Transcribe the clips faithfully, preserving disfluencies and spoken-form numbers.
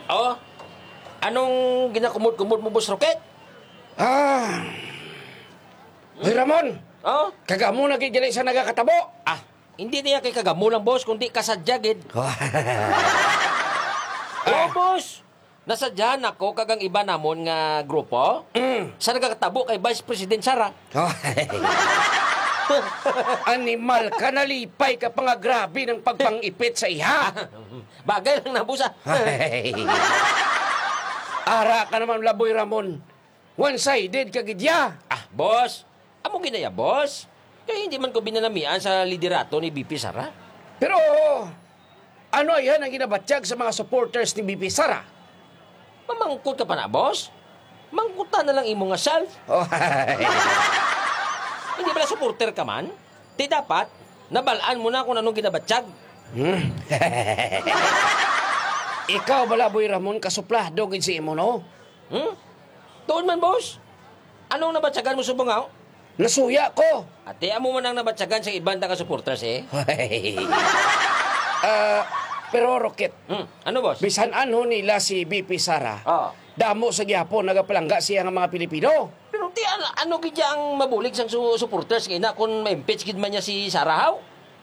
Oh, anong ginakumod-kumod mo, Boss Rocket? Ah. Hoy, Ramon! Oh? Kag amo na gid gali sa nagakatabo! Ah, hindi niya kay kagamo lang, boss, kundi kasadya gid. Oh, Ah. boss! Nasadyahan ako kag ang iba namon nga grupo Mm. sa nagakatabo kay Vice President Sara. Oh. Animal ka, nalipay ka pa nga grabe ng pagpangipit sa iha. Bagay lang na, boss, ah. Ay. Ara ka naman, Laboy Ramon. One-sided ka gid ya. Ah, boss. Amo ginaya, boss. Kay hindi man ko binanamian sa liderato ni V P Sara. Pero ano ayan ang ginabatyag sa mga supporters ni V P Sara? Mamangkot ka pa na, boss? Mangkuta na lang imo nga self. Oh. Hindi bala supporter ka man? Di dapat, nabalaan mo na kung anong ginabatyag. Hmm? Ikaw bala, Boy Ramon, kasuplado gid si imo, no? Hmm? Tuon man, boss. Anong nabatyagan mo subong, aw? Nasuya ko. Ate, amo man ang nabatyagan sa iban ta ka supporters, eh. Ah, pero, Rocket, Hmm, ano, boss? Bisan anho nila si V P Sara, Oo. damo sa gihapon nagapalangga siya nga mga Pilipino. Pero ti, ano, ano gid ang mabulig sang su-, supporters nga ina kung ma-impeach gid man niya si Sara, haw?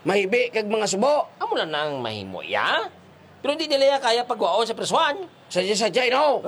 Mahibi kag mga subo. Amo lang nang mahimo iya. Pero hindi nila iya kaya pagwaon sa prisuhan. Sadya-sadya, no?